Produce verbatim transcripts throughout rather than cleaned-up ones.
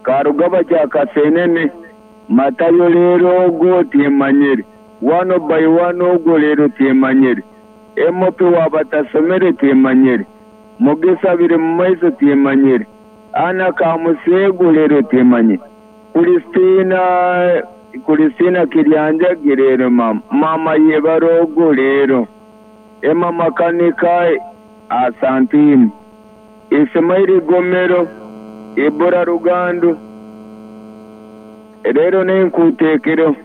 Karugaba Kyakasenene, Matayo leero ogwo tyemanyire, one by one ogwo leero tyemanyire, M P wabatasomere tyemanyire, Mugisa biri mu maiso tyemanyire, Ana Kamuseegu leero tyemanyire, Kristina Kristina Kiryanjagi leero mama, mama yebara ogwo leero, Emma Makanika Asantini, Ismaili Gomero, Ibura Rugandu, leero nenkuteekero.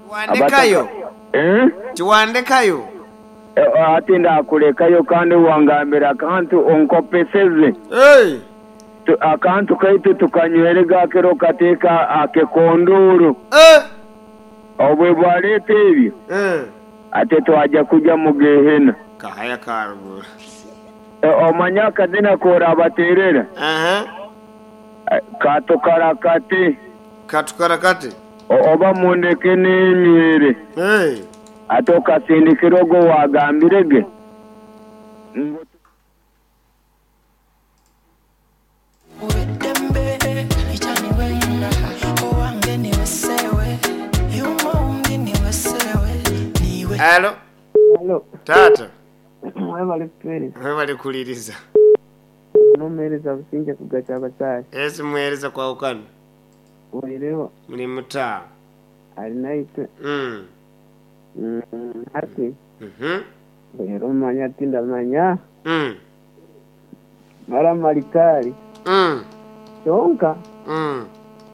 Tiwandekayo. Eh? Tiwandekayo. Ati ndakulekayo kandi wangambira akantu onkopeseze. Hey. Akantu kaitu tukanywere gakero kateeka akekonduru. Eh. Obwe bwaleeta ebyo. Eh. Ate twajja kujja mu gehena. Kahaya karuguru. Omanya akazina korabateerera. Aha. Katukarakate. Katukarakate. Oba mundeke n'emyere. Hey. Ate okasindikira ogwo wagambirege. Halo. Halo. Tata. Webale kutuweereza. Webale kuliriza. Nomuweereza Businge kugacha abakyali. Esi muweereza kwawukana. Oireho. Muli muta. Alinaitwe. Mm. Mm, hati. Mhm. Leero manya tindamanya. Mm. Mara malikali. Mm. Kyonka. Mm.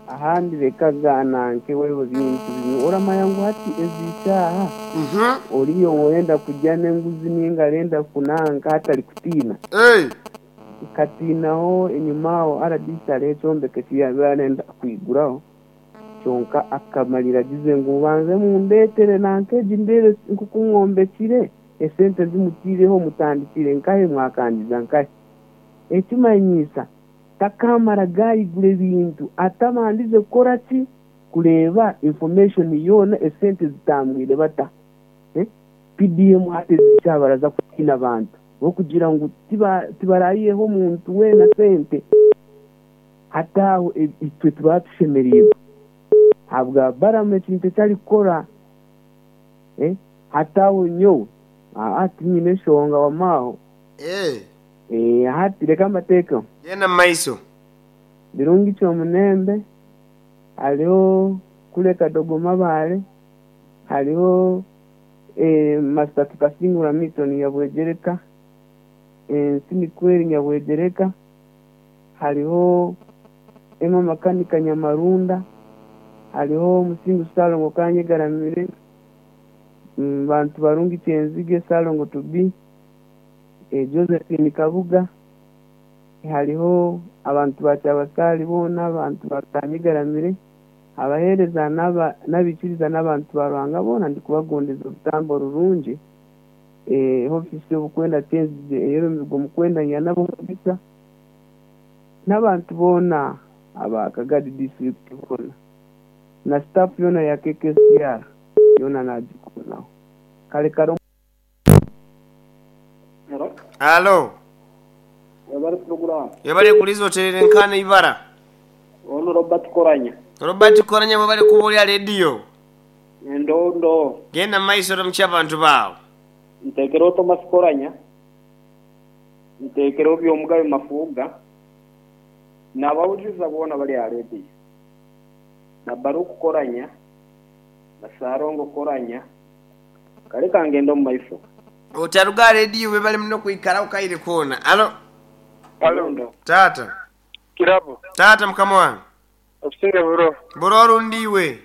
Ahandi bekagaana nke waliwo bintu bimwe oramanya ngu hati ezikyaha. Mhm. Oriyo woyenda kujja n'enguzi ninga arenda kunanka hatari kutiina. Hey. Katiinaho enyuma aho R D C hariho ekyombeko eki arenda kwiguraho kyonka akamalira agize ngu banze mundeetere nanka egi ndeebe nkoku mwombekire esente zimutiireho mutandikire nkahe mwakangiza nkahe ekimanyiisa takamara gayigura ebintu atabandize kukora ki kureeba information yoona esente zitambwire bata eh? P D M hati zikyabaraza kutiina abantu okugira ngu tibarayiheho omuntu weena sente hati aho itwe tuba tushemereirwe habwa Baramu ekintu eki arikukora eh? Hati aho nyowe hati nyine enshonga wamaaho. Eh. Eh, hati reka mbateekeho. Genda mu maiso. Birungi Kyomunembe, hariho Kuleka Dogo Mabare, hariho eh, Master Tukasingura Milton Nyabwegereka, Nsinikweri Nyabwegereka, hariho Emma Makanika Nyamarunda, hariho Musingu Salongo Kanyegaramire, mm, bantu barungi Kyenzige Salongo Tubi, eh, Josephine Kabuga, hariho abantu ba Kyabasali boona, abantu ba Kanyegaramire, abaheereza n'abikiriza n'abantu ba Ruhanga boona ndikubagondeza orutambo rurungi. eh, ofisi y'obukwenda Kyenzige ey'omuzigo mukwenda nyanabo omugisa n'abantu boona aba Kagadi district boona na staff yoona ya K K C R yoona nagikunaho kale kare. Halo. Webale program. Webale kuliza oterere nkana ibara. Ono Robert Koranya. Robert Koranya webale kubuulira rediyo. Ndo ndo. Genda mu maiso oramukye abantu baawe. Nteekera Thomas Koranya. Nteekera Byomugabe Mafuga. N'abawuliriza boona bali aha rediyo. Na Baruku Koranya. Na Sarongo Koranya. Kale kangenda omu maiso. Otaruga rediyo webale muno kwikaraho kaire koona. Halo. Halo. Tata. Kirabo. Tata mukama wange. Obusinge buro. Buro orundiwe.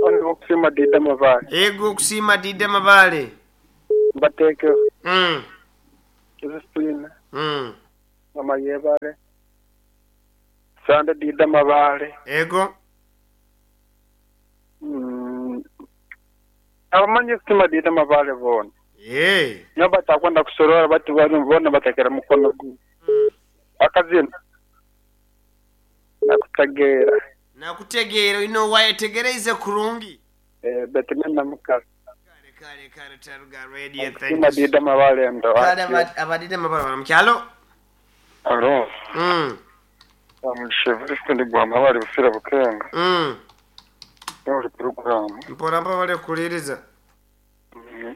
Ono okusiima Dida Mabale. Ego okusiima Dida Mabale. Mbateekeho. Mm. Josephine. Mm. Mama yebale. Sande Dida Mabale. Ego. Mm. Abamanyi kusima Dida Mabale boona. Eh. Nyo batakwenda kusorora bati bona batekera mukono gumwe. Akazina. Nakutegeera. Nakutegeera olina wayetegereize kurungi. Eh, betime namukazi. Kale kale kale taruga radio thank Kusima you. Dida Mabale ndo. Kale abadida Mabale baramukyalo. Alo. Mm. Amushevuriste ndi gwama bari busira bukenga. Mm. Yori program. Mpora mpa bale kuliriza.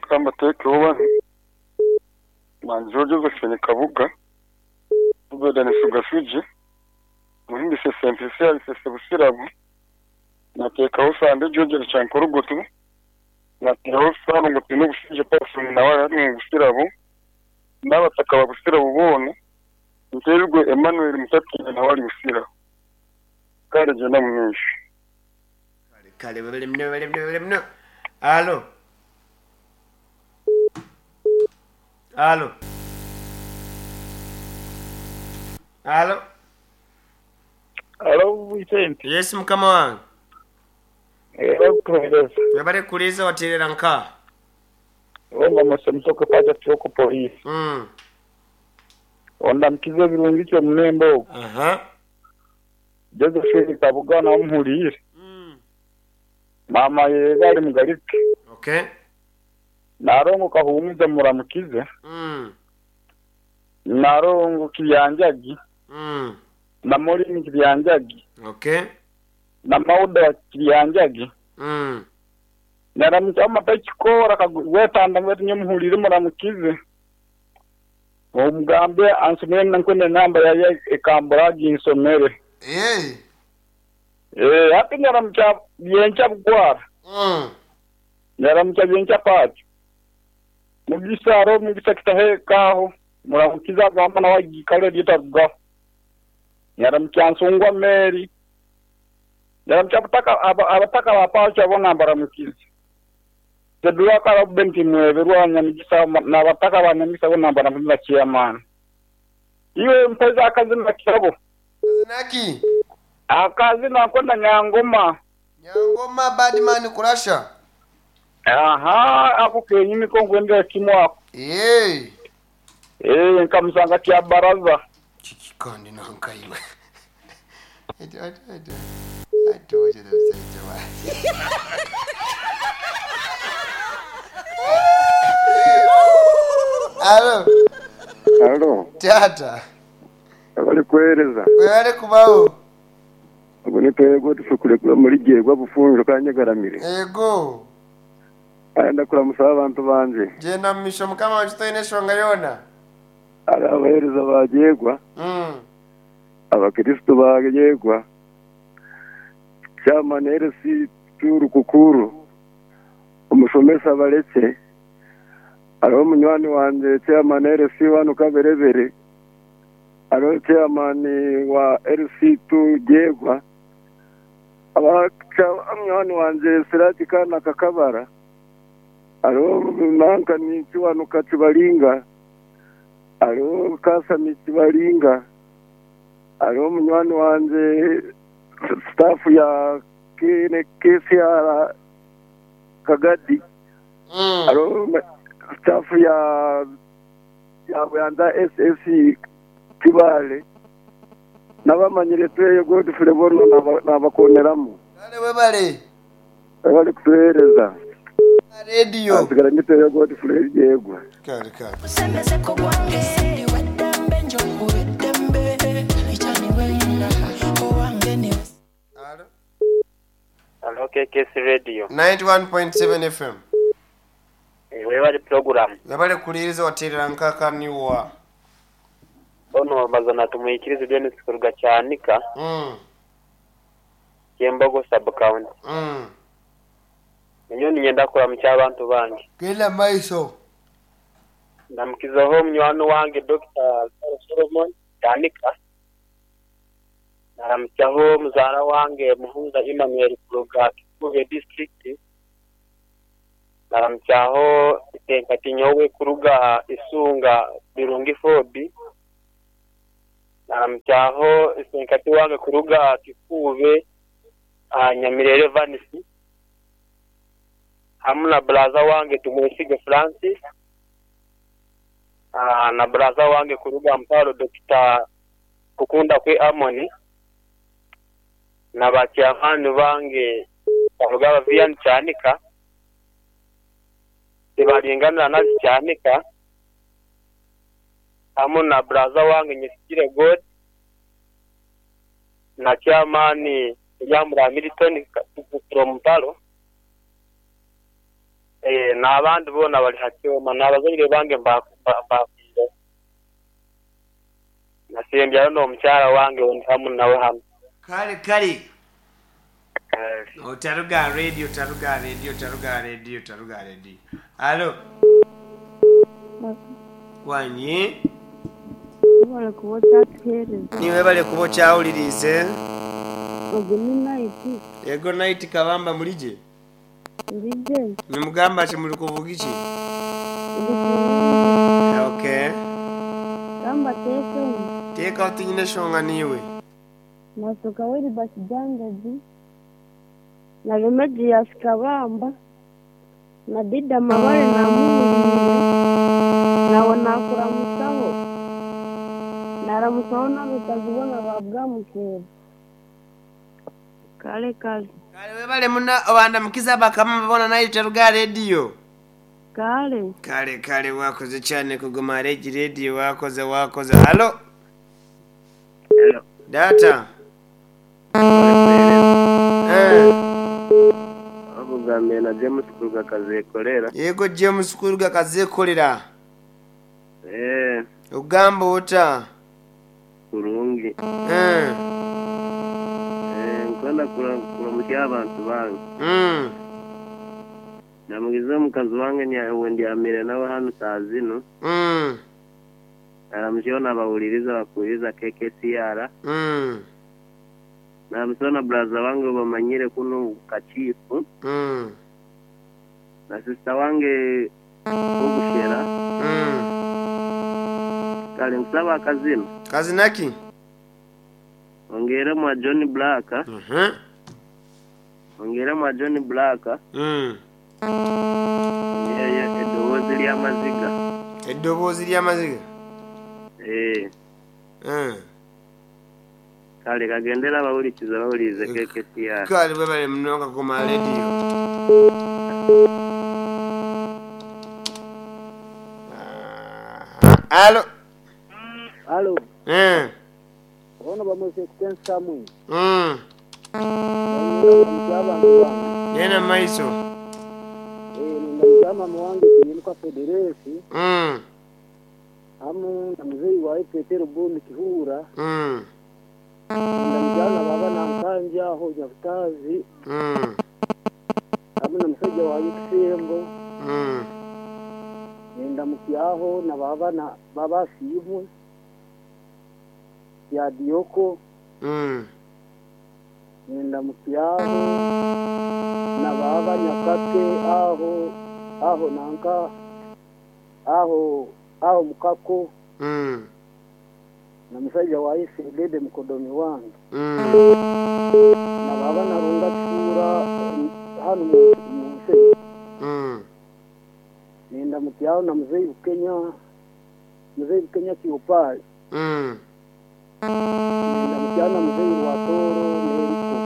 Kamba teke oba. Manjo Josephine Kabuga. Ubeda ni Sugasuji. Muhimbise Simplicial Sese Busirabu. Natekaho Sande George Chankorugotu. Natekaho Sano Ngutino Busije Person nawe ari mu Busirabu. N'abataka ba Busirabu bona. Nterwe Emmanuel Mutatire nawe ari Busirabu. Kare jenda mwinshi. Kale kale bale mno bale mno bale mno. Alo. Alo. Alo. Alo, Vicente. Yes mukama wange. Era kuhereza. Webale kuliza watirera nka. Wemba musomusoke pacha kyoko polisi. Mm. Onda mkize birungi kyo munembo. Aha. Josephine Kabuga na omuhulire. Mm. Mama yega ari mugarike. Okay. Narongo kahumuza muramukize. Mm. Narongo kiryanjagi. Mm. Na Molini kiryanjagi. Okay. Na Mauda kiryanjagi. Mm. Naramuka amatakikora kagwetanda ngwetu nyemuhulire muramukize. Omugambe ansomere nankwende namba ya ekambura ginsomere. Eh. Eh, hati naramuka byencha bugwara. Mm. Naramuka byencha pacho. Mugisa ro mugisa kitahe kaho muramukiza gamba na wagikale lyetaruga. Naramuka nsungwa Mary. Naramuka bataka abataka bapacho abona mbaramukiza. Zedura kara benti mweberwa nyamigisa na bataka banyamigisa bona mbaramukiza chairman. Iwe mpeza akazina kirabo. Naki. Akazina akonda Nyangoma. Nyangoma badman kurasha. Aha, ako kenyini ko ngwendera kimwako. Eh. Eh, nkamusanga kya baraza. Chikandi nankaiwe. Ito ito ito. Ito ito ito. Alo. Alo. Tata. Abali kuhereza. Wale kubaho. Abone twego tufukurekura muri gihe gwa bufunjo kanyagaramire. Ego. Anda kuramusa abantu banje. Jenda misho mukama wachitoine shonga yona. Ari abahereza bagegwa. Mm. Abakristo bagegwa. Chama neresi turu kukuru. Umushomesa bareke. Ariho munywani wanje chairman L C wano kaberebere. Ariho chairman wa L C two Gyegwa. Abacha munywani wanje Sirati kana kakabara. Ariho nanka ni chiwano kachibalinga. Ariho kasa ni chibalinga. Ariho munywani wanje staff ya K C R Kagadi. Mm. Ariho staff ya ya Bwanda S S C Kibale. Nabamanyire tweyo Godfrey bono nabakoneramo. Kale webale. Bali kutuhereza. Radio. Asigara niteyo Godfrey yegwa. Kale kale. Usembeze ko gwange ndi wedembe njo wedembe ichani wena owange ni. Alo. Alo K K S Radio ninety-one point seven F M. Webale program. Webale kuliriza watirira nkaka niwa. Ono bazana tumuyikirize Dennis kuruga cyanika. Mm. Kyembogo sub county. Mm. Nyoni nyenda kura mu cyabantu bange. Genda maiso. Ndamukizaho munywani wange Doctor Solomon Cyanika. Naramutyaho muzara wange Muhunza Emmanuel kuruga Kikuve district. Naramutyaho Itenkatinyowe kuruga Isunga Birungi Fobi. Naramutyaho Itenkati wange kuruga Kikuve Nyamirere Vanisi. Hamna braza wange Tumwesige Francis. Ah, na braza wange kuruga Mparo Doctor Kukunda kwe Amoni. Na bakyamani bange baruga Bavian Cyanika. Tibalingana na Cyanika. Hamwe na braza wange Nyesigire God. Na chairman Yamura Milton from Mpalo. Eh, n'abandi boona bali hakyoma n'abazaire bange mbakwire. Nasembyayo n'omukyala wange ndi hamu nawe hano. Kale kale. Otaruga radio, taruga radio, taruga radio, taruga radio. Alo. Wanyi. Webale kuba okyatuheereza. Niwe bale kuba okyawulirize. Ogu ni Night. Ego Night kabamba mulije. Ndije. Nimugamba ki muli kuvuga iki? Okay. Gamba teekemu. Teeka otinyine eshonga niiwe. Nasuka Wilbert Jangazi. Na Remedius Kabamba. Na Dida Mabare namuwulire. Nawe nakuramusaho. Naramusaho n'abakazi boona ba Bwamukeera. Kale kale. Kale webale muna obandamukiza bakama babona nayo taruga radio. Kale. Kale kale wakoze cyane kuguma regi radio wakoze wakoze. Halo. Hello. Data. Eh. Akugambye na James Kuruga kazekolera. Yego James Kuruga kazekolera. Eh, Ogamba ota. kurungi. Eh. Eh, nkwenda kuramukia abantu bange. Mm. Namugize omukazi wange ndyamire nawe hano saa zino. Mm. Naramukiyeho nabawuliriza bakuwuliriza K K C R. Mm. Naramukiyeho na braza wange bamanyire kuno kachifu. Mm. Na sister wange Obushera. Mm. Kale nkusaba akazina. Kazinaki? Ongere mwa John Black. Mhm. Ongere mwa John Black. Mm. Ongere eddoboozi ly'amaziga. Eddoboozi ly'amaziga? Eh. Mm. Kale kagendera abawulikiza bawulirize K K C R. Kale bwebale munonga kuguma radio. Alo. Alo. Eh. Ono bamwese kutensamu. Mm. Yena maiso. Eh, ndamujama mwange kiyinuka Federesi. Mm. Hamu na mzee wa Petero Bumi Kihura. Mm. Ndamujana baba na Nkanja aho Nyabutazi. Mm. Hamu na musajja wa Kisembo. Mm. Ndamukyaho na baba na baba Simwe. Ya Dioko. Mm. Ndamukyaho na baba Nyakake aho aho nanka aho aho mukako. Mm. Na musajja wa Isedede mukodomi wange. Mm. Na baba narunga kura hano mu nse. Mm. Ndamukyaho na mzee Bukenya mzee Bukenya Kiopali. Mm. Ndamukyaho na mzee wa Toro Neriko.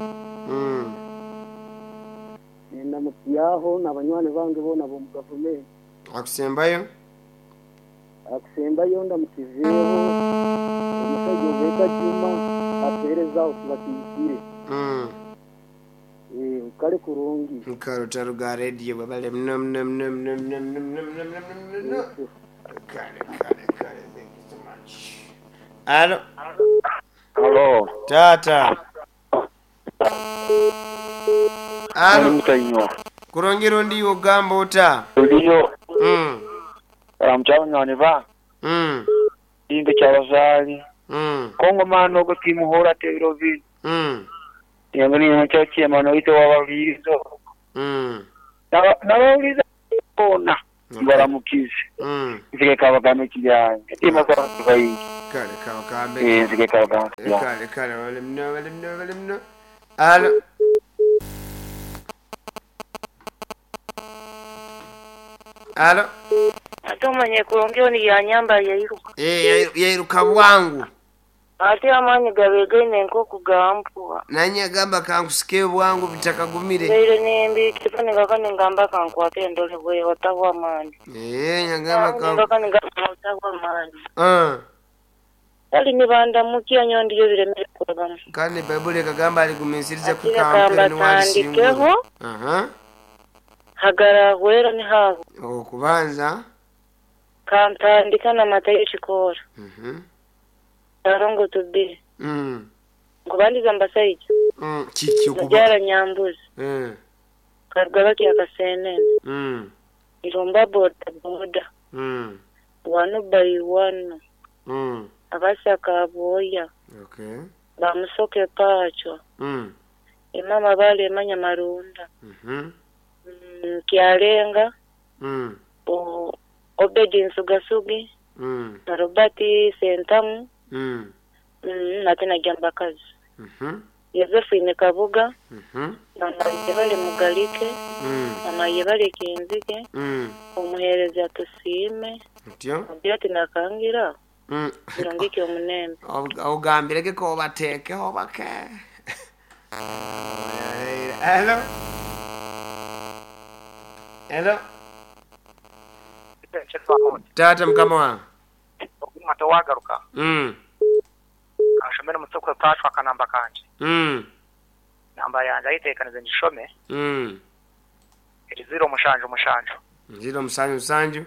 Mm. Ndamukyaho na banywani bange bona bo mu gavumenti. Akusembayo? Akusembayo ndamukizeeho omusajja obeka Juma apereza okubakiyikire. Mm. Eh, kale kurungi. Nkaro taruga radio babale mno mno mno mno mno mno mno mno mno mno. Kale kale kale, thank you so much. Alo. Alo. Tata. Alo. Mutainywa. Kurongero ndi ogamba ota. Ndiyo. Mm. Ramchawo nyane ba. Mm. Inde kyabazali. Mm. Kongo mano go timuhora tebiro vi. Mm. Yangani ncho chema ito wabawulirizo. Mm. Nabawuliriza bona. Baramukize. Mm. Nzige kabagame kiryange. Ima kwa bayingi. Kale kawa kambe. Eh, nzige kabagame kiryange. Kale kale wale mno wale mno wale mno. Alo. Alo. Ate omanye kulongeo ni yanyamba yairuka. Eh, yairuka bwangu. Ate amaanyi gabegaine nk'oku gampuwa. Nanye agamba kankusike bwangu bitakagumire. Leero nembi kifani kakani ngamba kankwate endole bwe watahwa amaanyi. Eh, nyagamba kan. Kakani ngamba watahwa amaanyi. Ah. Kale nibandamukya nyowe ndiyo biremere kurabamu. Kandi Baibuli ekagamba aligumiisiriza Ati kukampera reka niwalisingura. mbatandikeho. Aha. Hagarahwera nihaho. Okubanza. Kantandika na Matayo Kikoora. Mhm. Tarongo tubiri. Mm. Nkubandiza mbasaija. Mm. Kiki okuba? Mubyara Nyambuzi. Mm. Karugaba kya Kasenene. Mm. Iromba boda boda. Mm. Wano by wano. Mm. Abasaka aboya. Okay. Bamusoke pacho. Mm. Emama bale emanya marunda. Mhm. Mm, Kyalenga. Mm. O, Obedi Nsugasugi. Mm. Na Robert Sentamu. Mm. Mm, nate na Jambakazi. Mhm. Josephine Kabuga. Mhm. Mama Yebale Mugalike. Mm. Mama Yebale Kinzige. Mm. Omuhereza tusiime. Otyo? Ogira ati nakangira. Mm. Birongike omunembe. Ogambireke ko bateekeho bake. Hello. Hello. Tata mukama wange. Oguma tewagaruka. Mm. Kanshomere mutokwe pashwa akanamba kanje. Mm. Namba yanje ayiteekanize ngishome Mm. eri ziro mushanju mushanju. Ziro musanju musanju.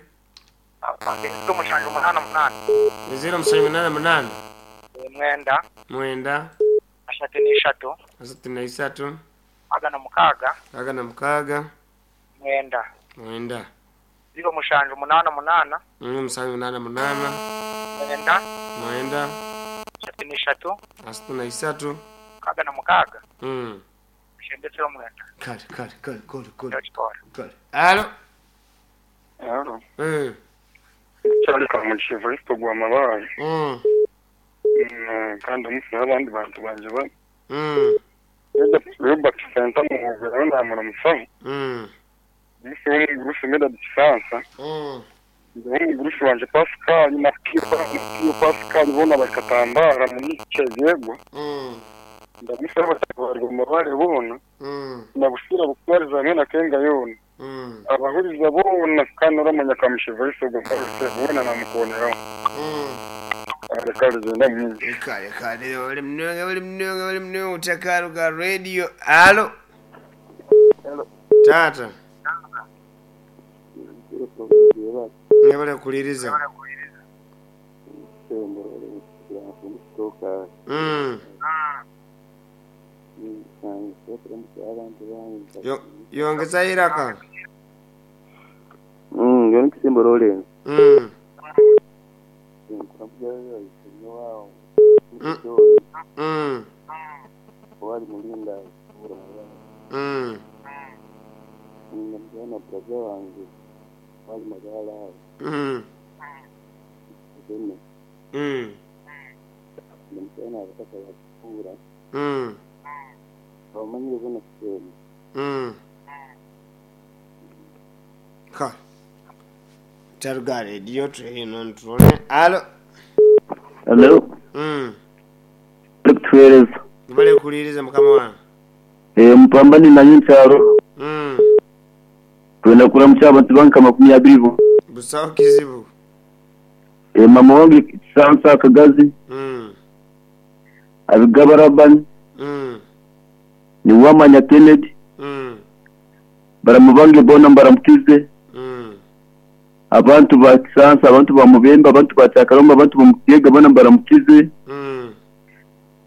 Ziro mushanju munana munana. Ziro musanju munana munana. Mwenda Mwenda. ashatu n'ishatu Asatu na isatu. agana mukaaga Aga na mukaaga. mwenda. Mwenda. Ziro mushanju munana munana Mm, musanju munana munana. mwenda Mwenda. ashatu n'ishatu Asatu na isatu. kaga na mukaaga Mm. shembesero mwenda. Kale kale kale kale kale. Ndakitwara. Kale. Alo. Alo. Mm. Kyali kamugisha Evaristo gwa mabaye. Mm. Mm, kandi omusi n'abandi bantu banje ba. Mm. Robert Senta muhubera namuramusaho. Mm. Omusi w'omugurusi Medard Kisansa. Mm. Omugurusi wanje Pascal na Kiyo na Kiyo Pascal bona bakatambara muri Kyegegwa. Mm. Ndamusaba batabarwa mabare bona. Mm. Nabusira butwariza hamwe na Kenga yona. Mm. Abahuriza bona kandi uramanya kamugisha Evaristo gwa mabaye bona namukoneraho. Mm. Kale genda mwingi. Kale kale oli mnonga oli mnonga oli mnonga utakaruka radio. Alo. Hello. Tata. Nyabala kuliriza. Mm. Yo yongeza iraka. Mm, ngeno kisimbo role. Mm. Mm. Mm. Wali mulinda Mm. Ndamujana brother wange wali magala. Mm. Ndene. Mm. Ndamujana abataka bakura. Mm. Bamanyire bona kisembo. Mm. Ka. Taruga radio train on trone. Alo. Hello. Mm. Tukutuhereza. Nibale kuliriza mukama wange. Eh mpambani na nkyaro. Mm. Twenda kuramukya abantu banka makumi abiri bo. Busaho kizibu. Eh mama wange Kisansa Kagazi. Mm. Abigabarabani. Mm. Ni wamanya Kennedy. Mm. Baramubange bona mbaramukize. Mm. Abantu ba Kisansa, abantu ba Mubembe, abantu ba Cyakaromba, abantu ba Mukiyega bona mbaramukize. Mm.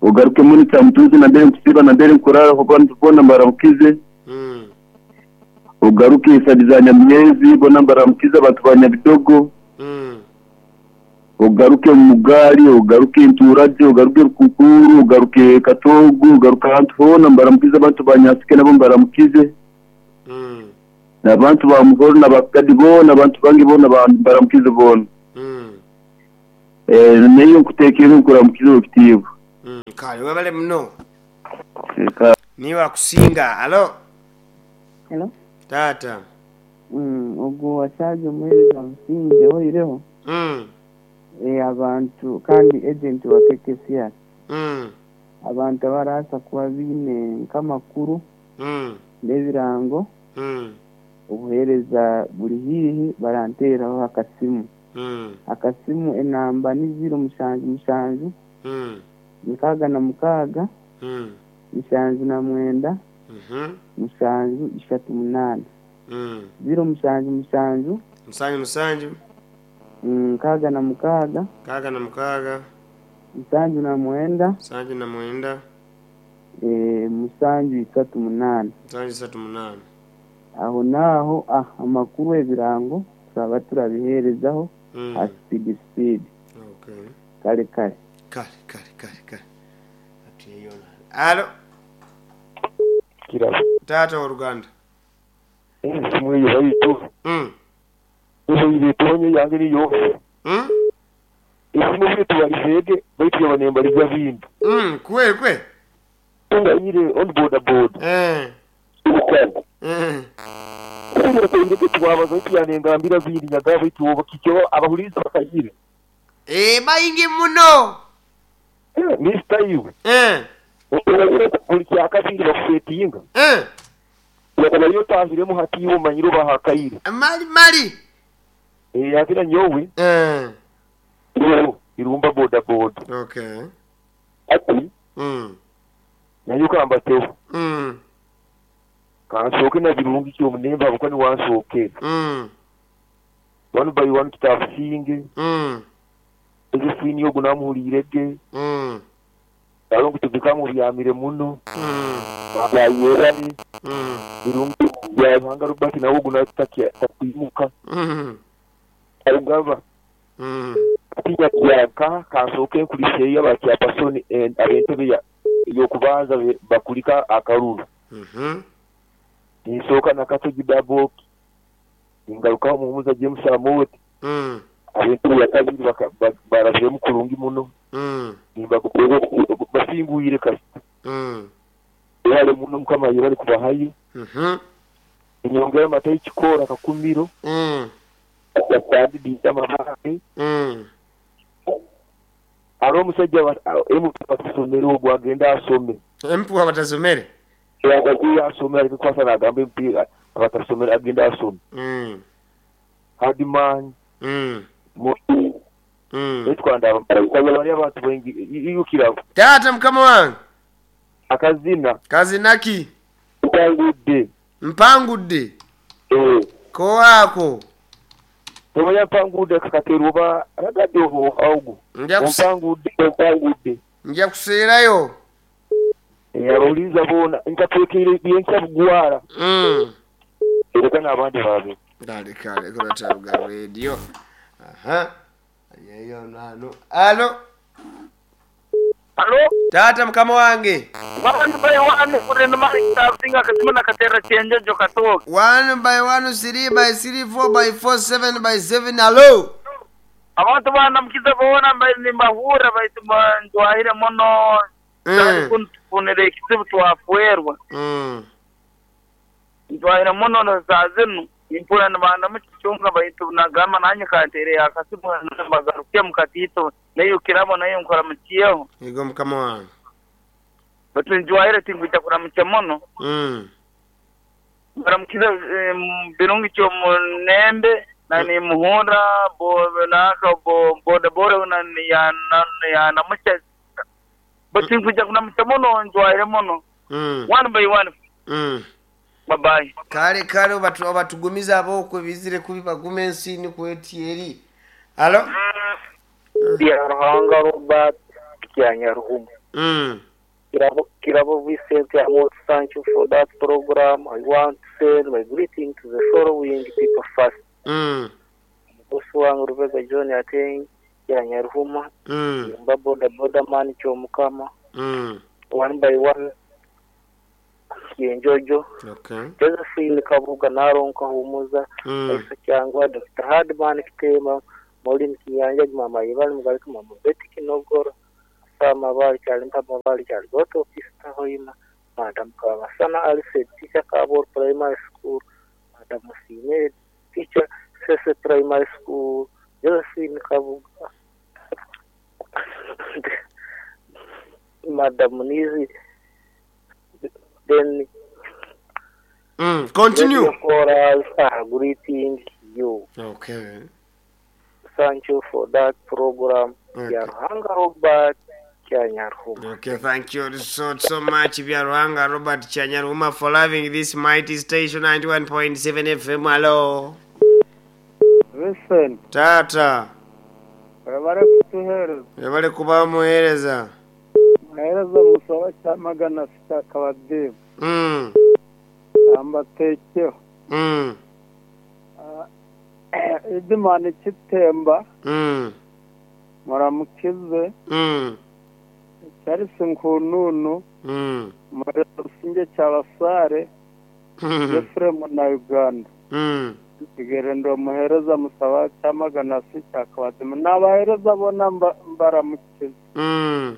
Ugaruke muri Cyamutuzi na mbere nkusiba na mbere nkurara abantu bona mbaramukize. Mm. Ugaruke isadi za Nyamyezi bona mbaramukize abantu ba Nyabidogo. Mm. Ugaruke Mugali, ugaruke Nturage, ugaruke Rukukuru, ugaruke Katogo, ugaruke ahantu hona mbaramukize abantu ba Nyasike nabo mbaramukize. Mm. N'abantu ba Muhoro n'abakadi bona abantu bange bona baramukize bona. Mm. Eh neyo nkutekera nkuramukize okitiibwa. Mm. Kale webale muno. Ka Niwe akusinga. Alo. Hello. Tata. Mm, ogwo washaje omuheereza Businge oireho Mm. eh, abantu kandi agent wa K K C R Mm. abantu abarasa kuba biine nk'amakuru Mm. n'ebirango Mm. obuheereza buri hiihi baranteeraho akasimu. Mm. Akasimu enamba ni ziro mushanju mushanju Mm. mukaaga na mukaaga Mm. mushanju na mwenda Mhm. mushanju ishatu munaana. Mm. Ziro mushanju mushanju Musanju musanju mm, mukaaga na mukaaga mukaaga na mukaaga musanju na mwenda musanju na mwenda eh, musanju isatu munaana. Musanju isatu munaana. Aho naaho ah, amakuru ebirango turaba turabiheerezaho Mm. ha speed speed. Okay. Kale kale. Kale kale kale kale. Atuyeyona. Alo. Kirabo. Taata w'oluganda. Esimu eyo baitu. Mm. Eyo etonye yange niyo. Mm. Esimu biri tubalizeege baitu yaba nembaliza bintu. Mm, kwe kwe. Tungayire on boda boda. Eh. Eh. Kugira twabaza baitu yanengambira bindi nyaga baitu oba kikyo abahuliza bakayire. Eh, bayingi muno. Eh, Mister iwe. Eh. Buli kyakabiri bakusetinga. Eh. Yakaba otahiremu hati iwe omanyire obahakaire. Mali mali. Eh, yakira nyowe. Eh. Irumba boda boda. Okay. Ati. Mm. Nayo kambateho. Mm. Kansooke na birungi kyomunemba abuka niwansookera. Mm. One by one kitabusinge. Mm. Josephine ogu namuhuriirege. Mm. Alo nkutubika mubyamire muno. Mm. Bayerane. Mm. Birungi bya Ruhanga Robert nawe ogu natakya takwimuka. Mm. Arugaba. Mm. Atinya kyaka kansooke nkuliseeyo abakyapasoni ab'entebe ya y'okubanza bakulika akaruru. Mhm. Ninsooka nakato Gidaboki. Ningarukaho Muhumuza James Amoti. Mm. Ab'entebe ya kabiri baraziremu kurungi muno. Mm. Basingwire kasita. Mm. Yebale muno Mukama yebale kubahayo. Mhm. Enyongera amata y'ekikoora kakumiro. Mm. Yatandidinda amabake. Mm. Hariho omusajja M P batasomere ogwo agenda asome. M P abatasomere? Agenda asome areke kukwasa nagamba M P abatasomere agenda asome. Mm. Hardman. Mm. Mm. Etwanda bari abantu bengi iyukira. Taata mukama wange. Akazina. Kazinaki. Mpangudde. Mpangudde. Eh. Kowaako. Tomanya mpangudde kakateerwa oba aragadde ogu. Mpangudde mpangudde. Nja kuseerayo. Eh, abawuliriza boona nkateekeire byenkya bugwara. Mm. Ereka n'abandi baabe. Kale kale kola Taruga Radio. Aha. Yeyo nano. Alo. Alo. Taata mukama wange. One by one kurenda mali tasinga kasima nakatera chenjejo katoka. One by one, three by three, four by four, seven by seven. Alo. Abantu bana mkiza boona nimbahura baitu ndwahire muno. Mm. Kunfunire ekizibu twafuerwa. Mm. Ndwahire muno na saa zinu. Impura nibanda mukichunga baitu nagamba nanye kantere akasimu bagaruke mukatito nayo kirabo nayo nkora mukiyeho. Yego mukama wange. Batu njwahire tinkwita kuramukya muno. Mm. Baramukiza birungi kyo munembe na ni muhunda bo naka bo boda boda na ya na ya namucha. Batu tinkwita kuramukya muno njwahire muno. Mm. One by one. Mm. Bye bye. Kale kale obatu obatugumiza abokwe bizire kubi bagume ensini kweti eri. Alo. Ya Ruhanga Robert Kyanyaruhuma. Mm. Kirabo Kirabo Vincent, I want to thank you for that program. I want to send my greeting to the following people first. Mm. Boss wange Rubega John Ateng Kyanyaruhuma. Mm. Mba boda boda man Kyomukama. Mm. One by one. Yenjojo. Okay. Josephine Kabuga Naronka Humuza. Mm. Aisa Kyangwa Doctor Hardman Kitema Maureen Kiyanja Mama Ibali Mugalika Mama Betty Kinogoro Sama Bali Kyalimpa Mabali Kyaligoto Pista Hoima Madam Kamasana Alfred Teacher Kabor Primary School Madam Musime Teacher Sese Primary School Josephine Kabuga Madam Nizi then mm, continue. Chorals are greeting you. Okay. Thank you for that program. Okay. Byaruhanga Robert Kyanyarhuma. Okay, thank you so, so much, Byaruhanga Robert Chanyaruma, for loving this mighty station ninety-one point seven F M. Hello. Listen. Tata. Webale kutuhereza. Webale kuba muhereza. Muhereza musaba kyamagana sita kabadimu. Mm. Ambatekeho. Mm. Uh, Idimani kitemba. Mm. Muramukize. Mm. Charles Nkununu. Mm. Murasinge cyabasare. Mm. Ephraim na Uganda. Mm. Igerendo muhereza musaba cyamagana sita kabadimu. Nabahereza bona mbaramukize. Mm.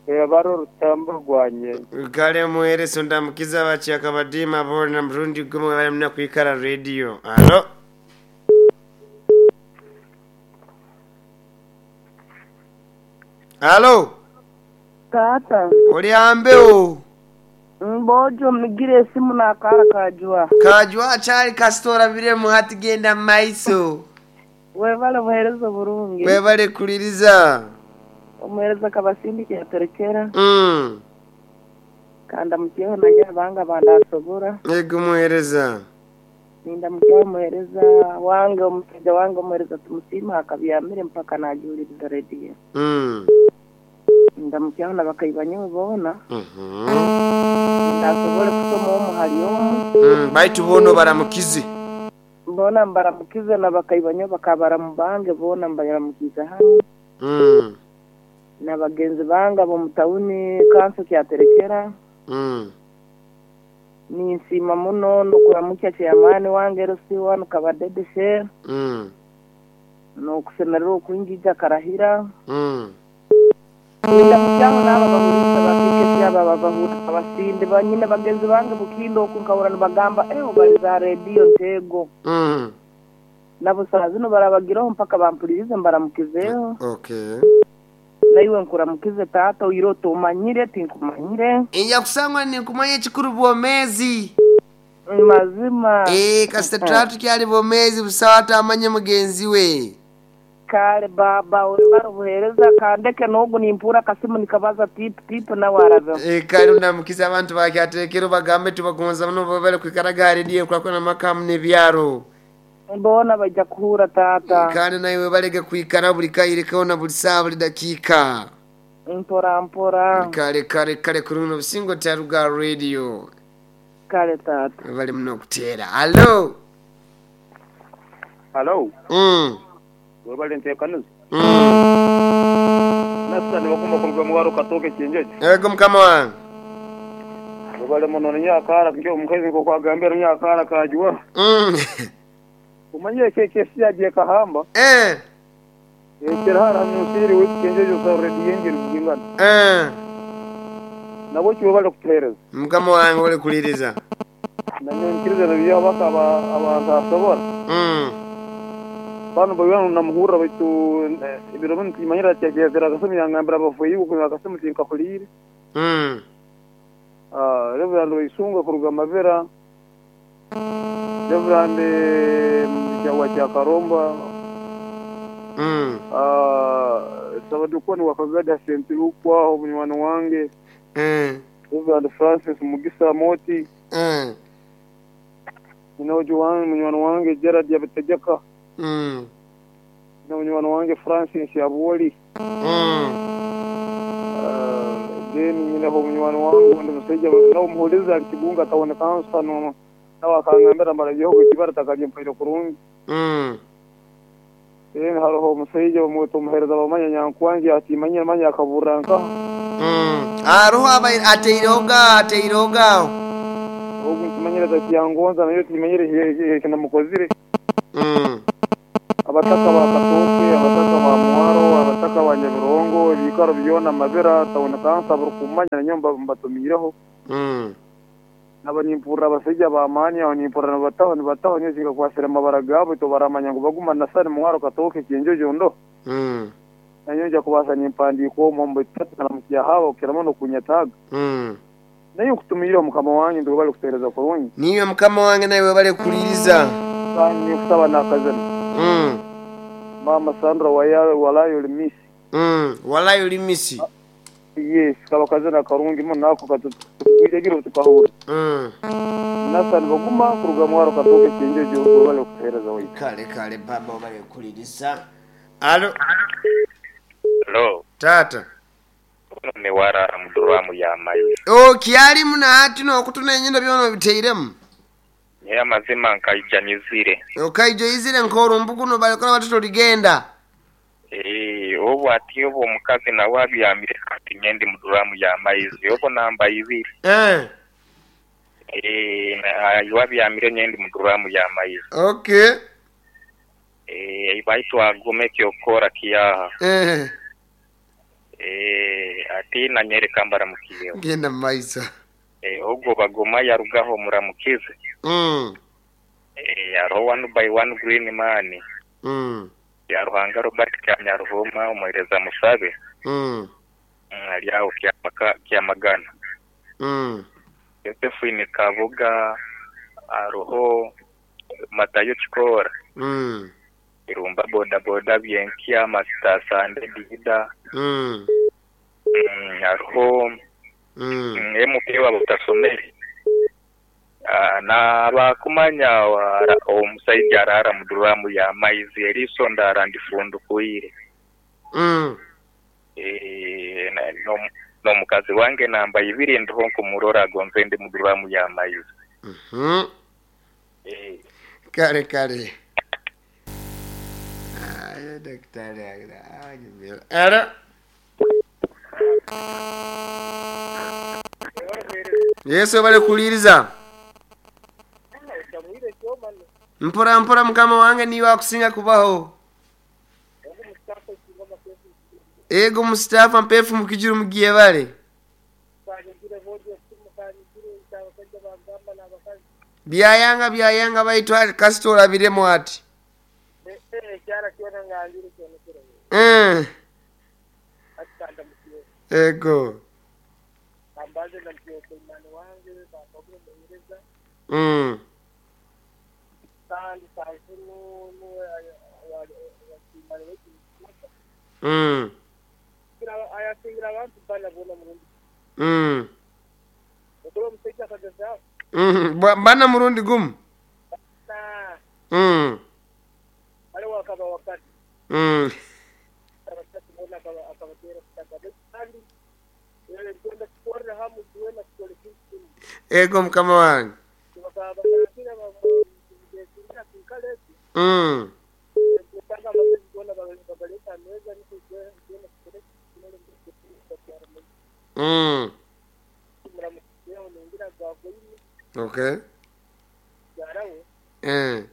Ebaro rutambo rwanye. Kale muhereso ndamukiza bakyakabadima bona mrundi gumwe bali muna kwikara radio. Alo. Alo. Tata. Oli ambeo. Mbojo migire esimu nakara kajwa. Kajwa chali kastora biremu hati genda maiso. Webale muherezo burungi. Webale kuliriza. Omuhereza kabasindi kyaterekera. Mm. Kanda mutyeho nanye abanga bandasobora. Yego muhereza. Ninda mutyeho muhereza wange omusajja wange omuhereza tumusima akabyamire mpaka najuliriza radio. Mm. Ninda mutyeho nabakaibanyo bona. Mhm. Ndasobora kusoma omu hali omu. Mm, baitu bono baramukize. Bona mbaramukize nabakaibanyo bakabara mubange bona mbaramukize hano. Mm. Na bagenzi banga bo mutawuni kanso kyaterekera. Mm. Ninsima muno nokuramukya chairman wange Rosi wanu kabadedeshe. Mm. Nokusemerera okwingija karahira. Mm. Ninda mutyango n'aba bahurisa bakikesi aba babahura abasinde banyine bagenzi bange bukindo okunkabura nibagamba eh obaliza radio ntego. Mm. Nabo saa zino barabagiraho mpaka bampulirize mbaramukizeho. Okay. Naiwe nkuramukize tata uyiroto umanyire tinkumanyire. Iya kusangwa ninkumanye chikuru bwomezi. Mazima. Eh kasita tatu kyali bwomezi busawata amanye mugenzi we. Kale baba webara buhereza kandeke nogu nimpura kasimu nikabaza tip tip na waraza. Eh kale ndamukiza abantu bakyatekero bagambe tubagonza muno babale kwikaraga radio kwa na makamu ne byaro. Mbona bajja kuhura tata. Kandi naiwe balege kwikara buli kaire kaona buli saa buli dakika. Mpora mpora. Kale kale kale kuruno busingo taruga radio. Kale tata. Bali muno kutera. Hello. Hello. Mm. Webale ntekaniza. Mm. Nasa nibakumba kuruga mu waro katoke kinjeje. Yego mukama wange. Webale muno nyakara ngiyo omukazi nko kwagambira nyakara kajwa. Mm. Umanye keke siyagiye kahamba. Eh. Ekirahara musiri w'ikinjeje sa radio ngiri kugingana. Eh. Nabo cyo bale kutereza. Mukama wange ole kuliriza. Nanyo nkiriza biyo bakaba abantu asobora. Mm. Bano bayana namuhura baitu ibiro bintu kimanyira cyagezera gasumi yangambira bavuye uko gasumi tinkakulire. Mm. Ah, Reverend Isunga kuruga Mabera. Reverend Mjawa cha Karomba. Mm. Ah, sabadukoni wakagada sentirukwa omunywani wange. Mm. Reverend Francis Mugisa Moti. Mm. Ninojo wange munywani wange Gerard Yabitegeka. Mm. Na munywani wange Francis Yaboli. Mm. Uh, then nyina ho munywani wange ndi musajja nawo muhuliza kigunga tawone kansa no nawe akangambira mbara gihugu kibara takaje mpaire kurungi. Mm. Then hariho omusajja bamweta omuhereza bamanya nyankwangi atimanyira manya akaburanka. Mm. Aruho aba ateiroga ateiroga. Ogu ntimanyira takiyangonza nayo timanyire kinamukozire. Mm. Abataka ba Katoke, abataka ba Mwaro, abataka ba Nyabirongo, ebikaro byona Mabera, tawone kansa buri nyomba mbatumireho. Mm. Nabanimpura abasajja bamani abanimpura nabataho nibataho nyezinga kwasira amabara gabo tobaramanya ngo baguma nasari Mwaro Katoke kinjojo ndo. Mm. Nanyo nja kubasa nimpandiko mombo tatu na mkiya hawa ukiramo no kunyataga. Mm. Nayo kutumira mukama wange ndo bali kutereza kurungi. Niyo mukama wange nawe bali kuliriza. Kandi kusaba nakazana. Mm. Mama Sandra waya- walayo limisi. Mm, walayo limisi. Yes, kaba kazina karungi muno ako katugwire tukahura. Mm. Nasani baguma kuruga mwaro katoke kinjojo bale kuhereza waitu. Kale kale baba obale kulirisa. Alo. Hello. Tata. Ono ne warara muduramu ya mayi. O kyali muna hati n'okutuna enyindo byona obiteiremu. Naye amazima nkaijanyizire. Okaijoizire nk'olumbugu no balikola batoto ligenda. Eh, obu ati obu omukazi nawe abyamire kati nyendi muduramu ya maizi obu namba ibiri. Eh. Eh, na wabyamire nyendi muduramu ya maizi. Okay. Eh, baitu agume kyokora kiyaha. Eh. Eh, ati nanyereka mbaramukiyeho. Genda maiso. Eh, ogwo bagoma yarugaho muramukize. Mm. Eh, hariho one by one green man. Mm. Ya Ruhanga Robert Kyanyaruhuma omuhereza Musabe. Mm. Mm, ari aho Kyamaka- Kyamagana. Mm. Josephine Kabuga hariho Matayo Kikora. Mm. Irumba boda boda Byenkya Master Sande Dida. Mm. Mm, hariho Mm. mm, M P wa Butasomeri. Ah, n'abakumanya wara- omusaija arara muduramu ya maizi eriiso ndara ndifundukuire. Mm. Eh, na- n'omu- n'omukazi wange namba ibiri ndiho nkumurora agonze ndi muduramu ya maizi. Mhm. Eh, Kale kale. Ayo daktari agira. Alo. Yesu bale kuliriza. Mpora mpora mukama wange niwe akusinga kubaho. Ego Mustafa mpefu mukijiru mugiye bale. Byayanga byayanga baitwa kasitola biremu ati. Eh. Ego. Mm. Mm. Mm. Mm. Ba- Bana murundi gumu. Mm. Mm. Ego mukama wange. Mm. Mm. Okay. Eh.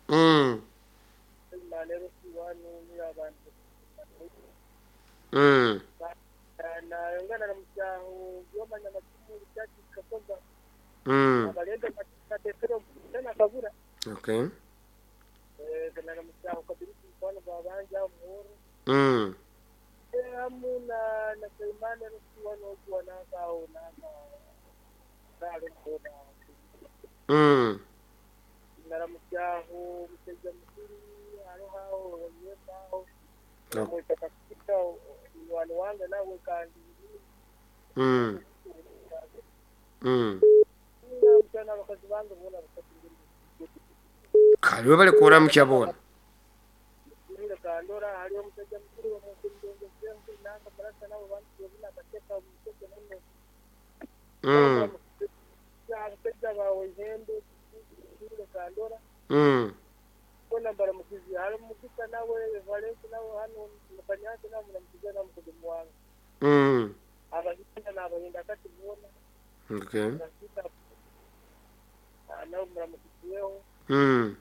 Mm. Mm. Mm. Okay. Mm. Mm. Mm. Mm. Kale webale kuramukya bona. Mm. Mm. Mm. Okay. Mm.